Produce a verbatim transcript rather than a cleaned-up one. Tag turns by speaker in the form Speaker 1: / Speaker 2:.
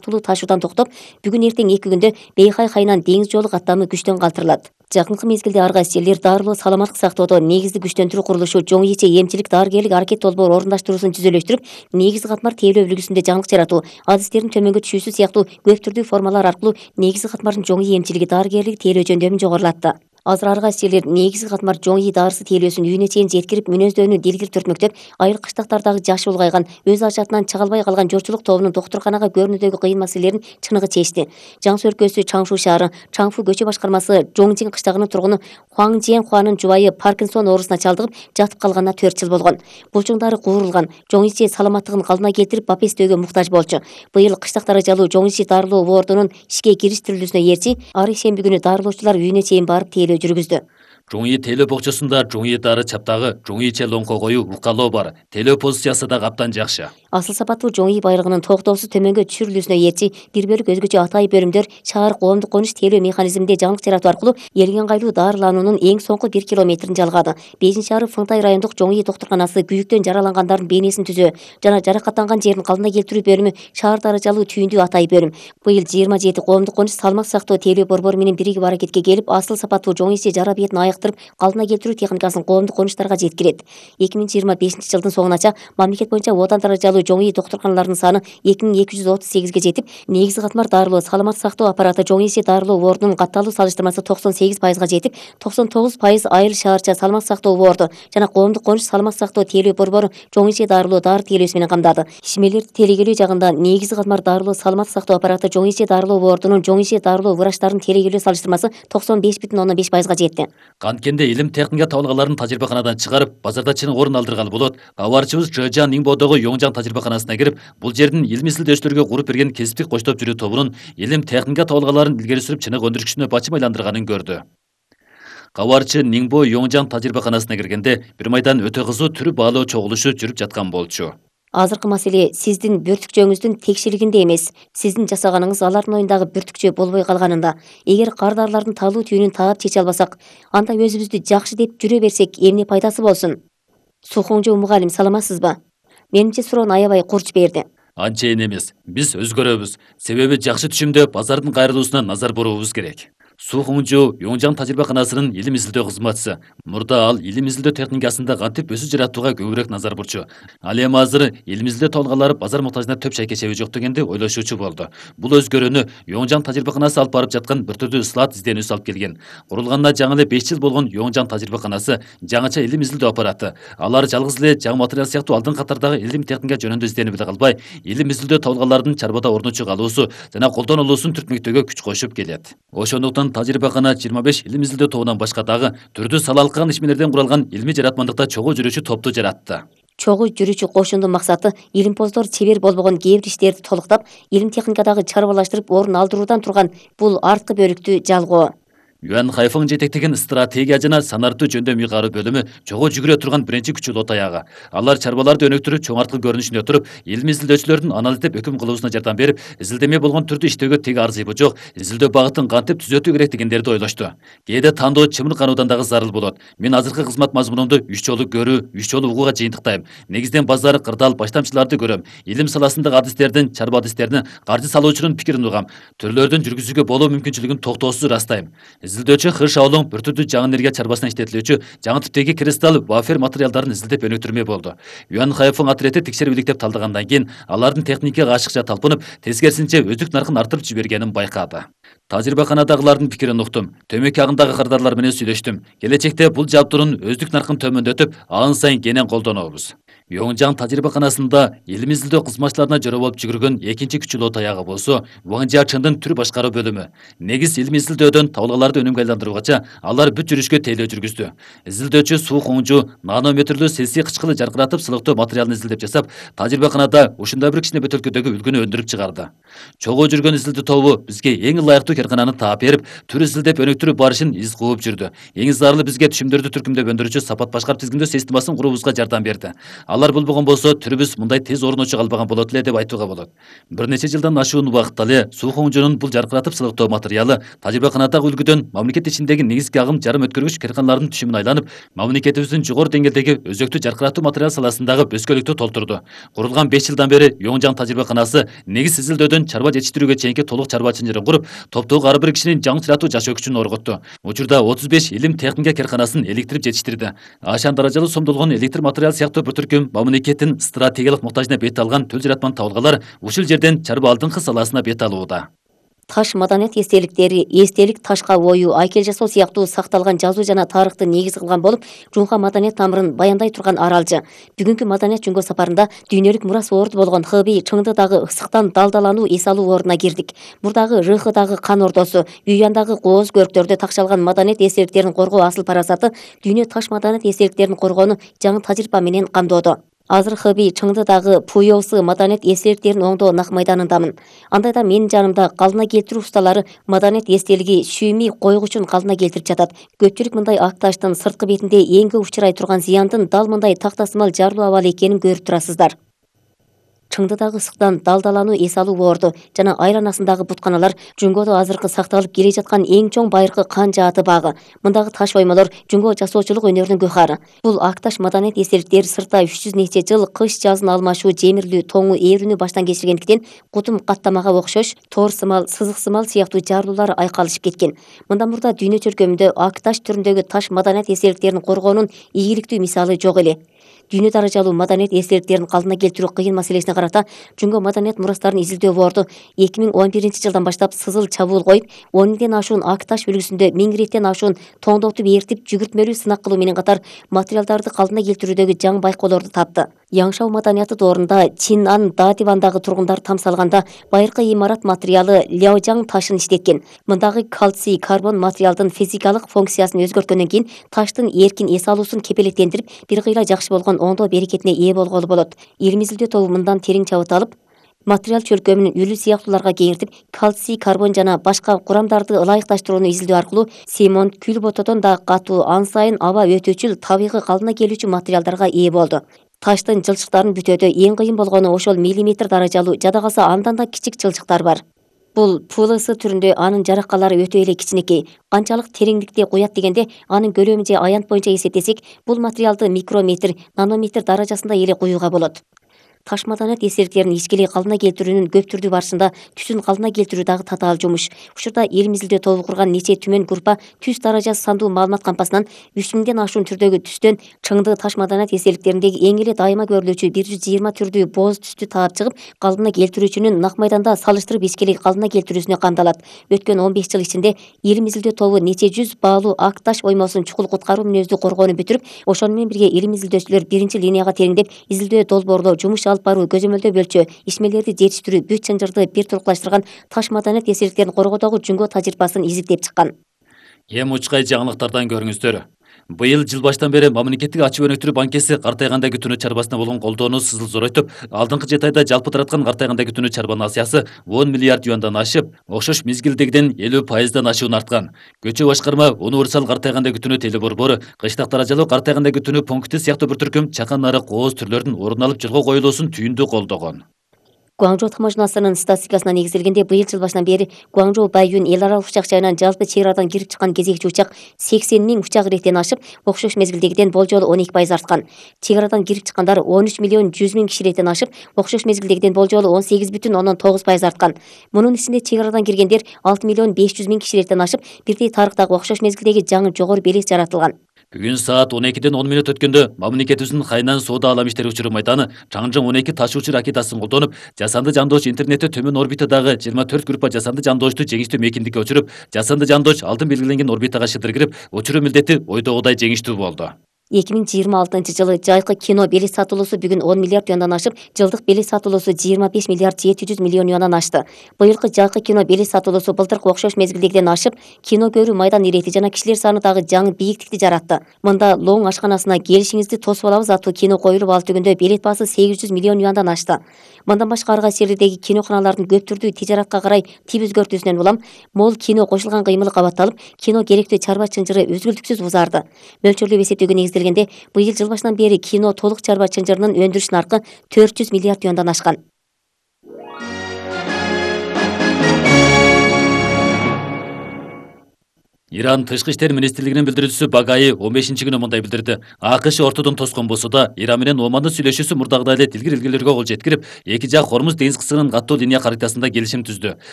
Speaker 1: убактылуу ташуудан токтоп, бүгүн эртең эки күндө Бейхай Хайнан деңиз жолу каттамы күчтөн калтырылат. Жакынкы мезгилде ар кайсы жерлер дарылоо саламаттык сактоодо негизди күчтөндүрүү курулушу чоң иче эмчилик дарыгерлик аракет долбоор орундаштыруусун жүзөлөштүрүп, негизги катмар тейлөө үлгүсүндө жаңылык жаратуу, адистердин төмөнгө түшүүсү сыяктуу көп түрдүү формалар аркылуу негизги катмардын чоң эмчилиги дарыгерлиги тейлөө жөндөмүн жогорулатты. Азыр ар кайсы жерлер негизги катмар чоң ий дарысы тейлөөсүн үйүнө чейин жеткирип, мүнөздөнүү дилгир төртмөктөп, айыл кыштактардагы жашы улгайган, өз ажатынан чыга албай калган журтчулук тобунун доктурканага көрүнүүдөгү кыйын маселелерин чыныгы чечти. Жаң Суу өлкөсү Чаңшу шаары Чаңфу көчө башкармасы Жоңжин кыштагынын тургуну Хуаң Жиен Хуанын жубайы Паркинсон оорусуна чалдыгып, жатып калганына төрт жыл болгон. Булчуңдары куурулган, Жоң иче саламаттыгын калдына келтирип, бапестөөгө муктаж болчу. Быйыл кыштак даражалуу Жоң ичи дарылоо бордунун ишке кириштирилүүсүнө ээрчи, ар ишемби күнү дарылоочулар үйүнө чейин барып тейлөө жүргүздү.
Speaker 2: Жоң ий тейлөө бокчосунда Жоң ий дары чаптагы Жоң иче лоңко коюу укалоо бар. Тейлөө позициясы да каптан жакшы.
Speaker 1: Асыл сапаттуу Жоң ий байлыгынын токтоосуз төмөнгө түшүрүлүүсүнө ээрчи, бир бөлүк өзгөчө атайын бөлүмдөр шаар коомдук конуш тейлөө механизминде жаңылык жаратуу аркылуу элген кайлуу дарылануунун эң соңку бир километрин жалгады. бешинчи шаары Фыңтай райондук Жоң ий доктурканасы күйүктөн жаралангандардын бейнесин түзөө жана жаракаттанган жерин калдына келтирүү бөлүмү шаар даражалуу түйүндүү атайын бөлүм. Быйыл жыйырма жети коомдук конуш салмак сактоо тейлөө борбору менен биригип аракетке келип, асыл сапаттуу Жоң ичи жара бетин айыктырып, калдына келтирүү техникасын коомдук конуштарга жеткирет. эки миң жыйырма бешинчи жылдын соңунача мамлекет боюнча одан даражалуу Жоң ий доктурканаларынын саны эки миң эки жүз отуз сегизге жетип, негизги катмар дарылоо саламаттык сактоо аппараты Жоң ичи дарылоо бордунун катталуу салыштырмасы токсон сегиз пайызга жетип, токсон тогуз пайыз айыл шаарча саламаттык сактоо борду жана коомдук конуш саламаттык сактоо тейлөө борбору Жоң ичи дарылоо дары тейлөөсү менен камдады. Ишмерлерди тейлегелөө жагында негизги катмар дарылоо саламаттык сактоо аппараты Жоң ичи дарылоо бордунун Жоң ичи дарылоо врачтарын тейлегелөө салыштырмасы токсон беш бүтүн ондон беш пайызга жетти.
Speaker 2: Канткенде илим техника табылгаларын тажрыйбаканадан чыгарып, базарда чыныгы орун алдыргалы болот. Кабарчыбыз Жыжан Ниңбодогу Йоңжан тажрыйбаканасына кирип, бул жердин илим изилдөөчүлөргө куруп берген кесиптик коштоп жүрүү тобунун илим техника табылгаларын илгери сүрүп чыныгы өндүрүшүнө бачым айландырганын көрдү. Кабарчы Ниңбо Йоңжан тажрыйбаканасына киргенде бир майдан өтө кызуу түрү баалоо чогулушу жүрүп жаткан болчу.
Speaker 1: Азыркы маселе сиздин бүртүкчөңүздүн текшилигинде эмес, сиздин жасаганыңыз алардын оюндагы бүртүкчө болбой калганында. Эгер кардарлардын талуу түйүнүн таап чече албасак, анда өзүбүздү жакшы деп жүрө берсек, эмне пайдасы болсун? Сухоңжо мугалим, саламатсызбы? Менимче суроону аябай курч берди.
Speaker 2: Анчейин эмес. Биз өзгөрөбүз. Себеби жакшы түшүмдө базардын кайрылуусуна назар буруубуз керек. Сухоңжо Йоңжан тажрыйбаканасынын илим изилдөө кызматчысы. Мурда ал илим изилдөө техникасында кантип өсү жаратууга көбүрөөк назар бурчу. Ал эми азыр илим изилдөө толгалары базар муктажына төп шайкечеби жок дегенди ойлошуучу болду. Бул өзгөрүүнү Йоңжан тажрыйбаканасы алып барып жаткан бир түрдүү ислаат изденүүсү алып келген. Курулганына жаңы эле беш жыл болгон Йоңжан тажрыйбаканасы жаңыча илим изилдөө аппараты. Алар жалгыз эле жаңы материал сыяктуу алдын катардагы илим техника жөнүндө изденип эле калбай, илим изилдөө толгалардын чарбада орнучу калуусу жана колдонулуусун түртмөктөөгө күч кошуп келет. Ошондуктан тажрыйбакана жыйырма беш илим изилдөө тобунан башка дагы түрдүү салалыккан ишмерлерден куралган илмий жаратмандыкта чогуу жүрүүчү топту жаратты.
Speaker 1: Чогуу жүрүүчү кошундун максаты илимпоздор чебер болбогон кээ бир иштерди толуктап, илим техникадагы чарбалаштырып орун алдыруудан турган бул арткы бөлүктү жалгоо.
Speaker 2: Юан Хайфың жетектеген стратегия жана санартуу жөндөм уйгаруу бөлүмү чогуу жүгүрө турган биринчи күчү лот аягы. Алар чарбаларды өнүктүрүп, чоң арткы көрүнүшүнө туруп, илим изилдөөчүлөрдүн анализдеп өкүм кылуусуна жардам берип, изилдеме болгон түрдү иштөөгө теги арзыйбы жок, изилдөө багытын кантип түзөтүү керек дегендерди ойлошту. Кээде тандоо чымыркануудан дагы зарыл болот. Мен азыркы кызмат мазмунумду үч жолу көрүү, үч жолу угууга жыйынтыктайм. Негизден базар, кырдаал, баштамчыларды көрөм. Илим саласындагы адистердин, чарба адистердин, каржы салуучунун пикирин угам. Төрлөрдүн жүргүзүүгө болуу мүмкүнчүлүгүн токтоосуз ырастайм. Изилдөөчү Хыш Аулуң бир түрдүү жаңы энергия чарбасына иштетилүүчү жаңы типтеги кристалл вафер материалдарын изилдеп өнүктүрмө болду. Юан Хайфың отрети текшерип иликтеп талдагандан кийин алардын техникага ашыкча талпынып, тескерисинче өздүк наркын артырып жибергенин байкады. Тажрыйбаканадагылардын пикирин уктум. Төмөкү агымдагы кардарлар менен сүйлөштүм. Келечекте бул жабдуунун өздүк наркын төмөндөтүп, ан сайын кенен колдонобуз. Йоңжан тажрыйбаканасында илим изилдөө кызматчыларына жөрө болуп жүгүргөн экинчи күчү лот аягы болсо Ваң Жиачындын түр башкаруу бөлүмү. Негиз илим изилдөөдөн табылгаларды өнүмгө айландыруугача алар бүт жүрүшкө тейлөө жүргүздү. Изилдөөчү Сухоңжо нанометрлүү селси кычкылы жаркыратып сылыктоо материалын изилдеп жасап, тажрыйбаканада ушундай бир кичине бөтөлкөдөгү үлгүнү өндүрүп чыгарды. Чогуу жүргөн изилдөө тобу бизге эң ылайыктуу каркананы таап берип, түр изилдеп өнүктүрүү барышын из кууп жүрдү. Эң зарылы бизге түшүмдөрдү түркүмдөп өндүрүүчү сапат башкарып тизгиндөө системасын куруубузга жардам берди. Алар болбогон болсо түрүбүз мындай тез орночу калбаган болот эле деп айтууга болот. Бир нече жылдан ашуун убакытта эле суу коңжонун бул жаркыратып сылыктоо материалы тажрыйбаканадагы үлгүдөн мамлекет ичиндеги негизги агым жарым өткөргүч карканалардын түшүмүн айланып, мамлекетибиздин жогору деңгээлдеги өзөктүү жаркыратуу материал саласындагы бөскөлүктү толтурду. Курулган беш жылдан бери Оңжаң тажрыйбаканасы негиз изилдөөдөн чарба жетиштирүүгө чейинки толук чарба чынжырын куруп, топтогу ар бир кишинин жаңы чыратуу жашоо күчүн орготту. Учурда отуз беш илим техника карканасын электрип жетиштирди. Ашан даражалуу сомдолгон электр материал сыяктуу бир түркүм мамлекеттин стратегиялык муктажына бет алган төл жаратманы табылгалар ушул жерден чарба алдыңкы саласына бет алууда.
Speaker 1: Таш маданият эстеликтери, эстелик ташка ою, айкел жасоо сыяктуу сакталган жазуу жана тарыхты негиз кылган болуп, Жуңка маданият тамырын баяндай турган аралжы. Бүгүнкү маданият жөнгө сапарында дүйнөлүк мурас орду болгон Хэби Чыңдыдагы ысыктан далдалануу эс алуу ордуна кирдик. Мурдагы Рыхыдагы кан ордосу, Юяндагы кооз көрктөрдө такшалган маданият эстеликтерин коргоо асыл парасаты дүйнө таш маданият эстеликтерин коргоону жаңы тажрыйба менен камдоодо. Азыр Хэби Чыңдыдагы Пуйосы маданият эстеликтерин оңдоо нак майданындамын. Андайда менин жанымда калдына келтирүү усталары маданият эстелиги Шүйми койгучун калдына келтирип жатат. Көпчүлүк мындай ак таштын сырткы бетинде эң көп учурай турган зыяндын дал мындай тактасымал жарылуу абалы экенин көрүп турасыздар. Чыңдыдагы ысыктан далдалануу эс алуу орду жана айланасындагы бутканалар Жуңгодо азыркы сакталып келе жаткан эң чоң байыркы кан жааты багы. Мындагы таш оймолор Жуңго жасоочулук өнөрүнүн гөкары. Бул ак таш маданият эстеликтери сыртта үч жүз нече жыл кыш жазын алмашуу жемирлүү тоңу ээрүүнү баштан кечиргендиктен кутум каттамага окшош тор сымал, сызык сымал сыяктуу жарылуулар айкалышып кеткен. Мындан мурда дүйнө чөлкөмүндө ак таш түрүндөгү таш маданият эстеликтерин коргоонун ийгиликтүү мисалы жок эле. Дүйнө даражалуу маданият эстеликтерин калдына келтирүү кыйын маселесине карата Жуңго маданият мурастарын изилдөө борду эки миң он биринчи жылдан баштап сызыл чабуул коюп, он миңден ашуун ак таш үлгүсүндө миң иреттен ашуун тоңдотуп ээртип жүгүртмөлүү сынак кылуу менен катар материалдарды калдына келтирүүдөгү жаңы байкоолорду тапты. Яңшау маданияты доорунда Чинан Дадивандагы тургундар тамсалганда байыркы имарат материалы Ляожаң ташын иштеткен. Мындагы кальций карбон материалдын физикалык функциясын өзгөрткөндөн кийин таштын эркин эс алуусун кепелеттендирип, бир кыйла жакшы болгон оңдоо берекетине ээ болголу болот. Илим изилдөө тобу мындан терең чабыт алып, материал чөлкөмүн үлү сыяктууларга кеңиртип, кальций карбон жана башка курамдарды ылайыкташтырууну изилдөө аркылуу цемент, күл ботодон да катуу, ан сайын аба өтүүчүл, табигый калдына келүүчү материалдарга ээ болду. Таштын жылчыктарын бүтөөдө эң кыйын болгону ошол миллиметр даражалуу, жада калса андан да кичик жылчыктар бар. Бул ПЛС түрүндө анын жараккалары өтө эле кичинекей. Канчалык тереңдикте куят дегенде, анын көлөмү же аянт боюнча эсептесек, бул материалды микрометр, нанометр даражасында эле куюуга болот. Таш маданият эстеликтерин ичкилей калдына келтирүүнүн көп түрдүү барышында түсүн калдына келтирүү дагы татаал жумуш. Ушурда илим изилдөө тобу курган нече түмөн группа түс даражасы сандуу маалымат кампасынан үч миңден ашуун түрдөгү түстөн Чыңды таш маданият эстеликтериндеги эң эле дайыма көрүлүүчү бир жүз жыйырма түрдүү боз түстү таап чыгып, калдына келтирүүчүнүн нак майданда салыштырып ичкилей калдына келтирүүсүнө камдалат. Өткөн он беш жыл ичинде илим изилдөө тобу нече жүз баалуу ак таш оймосун чукул куткаруу мүнөздүү коргоону бүтүрүп, ошону менен бирге илим изилдөөчүлөр биринчи линияга тереңдеп, изилдөө долбоорлоо, жумуш алып баруу, көзөмөлдөө бөлчө, ишмелерди жетиштирүү, бүт чынжырды бир турукташтырган таш маданият эстеликтерин коргоодогу Жуңго тажрыйбасын изилдеп чыккан.
Speaker 2: Эми учкай жаңылыктардан көрүңүздөр. Быйыл жыл баштан бери мамлекеттик ачып өнүктүрүү банкеси картайганда күтүүнү чарбасына болгон колдоону сызыл зоройтуп, алдыңкы жети айда жалпы тараткан картайганда күтүүнү чарбанын акчасы он миллиард юандан ашып, окшош мезгилдегиден элүү пайыздан ашуун арткан. Көчө башкарма универсал картайганда күтүүнү телеборбору, кыштак даражалуу картайганда күтүүнү пункти сыяктуу бир түркүм чакан нары кооз түрлөрдүн ордун алып жолго коюлуусун түйүндү колдогон.
Speaker 1: Гуаңжоу таможнасынын статистикасына негизделгенде, быйыл жыл башынан бери Гуаңжоу Байюн эл аралык учак жайынан жалпы чек арадан кирип чыккан кезекчи учак сексен миң учак иреттен ашып, окшош мезгилдегиден болжолу он эки пайыз арткан. Чек арадан кирип чыккандар он үч миллион жүз миң киши иреттен ашып, окшош мезгилдегиден болжолу он сегиз бүтүн ондон тогуз пайыз арткан. Мунун ичинде чек арадан киргендер алты миллион беш жүз миң киши иреттен ашып, бирдей тарыктагы окшош мезгилдеги жаңы жогору белес жаратылган.
Speaker 2: Бүгүн саат он экиден он мүнөт өткөндө мамлекетибиздин Хайнан соода алам иштери учуру майданы Чаңжың он эки ташуучу ракетасын колдонуп, жасанды жандооч интернетте төмөн орбитадагы жыйырма төрт группа жасанды жандоочту жеңиштүү мейкиндикке учуруп, жасанды жандооч алдын белгиленген орбитага шыдыр кирип, учуруу милдети ойдогудай жеңиштүү болду. эки миң жыйырма алтынчы жылы жайкы кино белес сатуулусу бүгүн он миллиард юандан ашып, жылдык белес сатуулусу жыйырма беш миллиард жети жүз миллион юандан ашты. Быйылкы жайкы кино белес сатуулусу былтыркы окшош мезгилдегиден ашып, кино көрүү майдан ирети жана кишилер саны дагы жаңы бийиктикти жаратты. Мында Лоң ашканасына келишиңизди тосуп алабыз аттуу кино коюлуп, ал түгүндө билет баасы сегиз жүз миллион юандан ашты. Мындан башка ар кайсы жерлердеги киноканалардын көп түрдүү тижаратка карай тип өзгөртүүсүнөн улам мол кино кошулган кыймылы кабатталып, кино керектүү чарба чынжыры үзгүлтүксүз узарды. Мөлчөрлөп эсептөөгө негизделген
Speaker 1: эстелгенде, быйыл жыл башынан бери кино толук чарба чынжырынын өндүрүш наркы төрт жүз миллиард юандан ашкан.
Speaker 2: Иран тышкы иштер министрлигинин билдирүүчүсү Багаи он бешинчи күнү мындай билдирди. АКШ ортодон тоскон болсо да, Иран менен Омандын сүйлөшүүсү мурдагыдай эле тилгир илгелерге кол жеткирип, эки жак Хормуз деңиз кысымынын каттуу линия каритасында келишим түздү.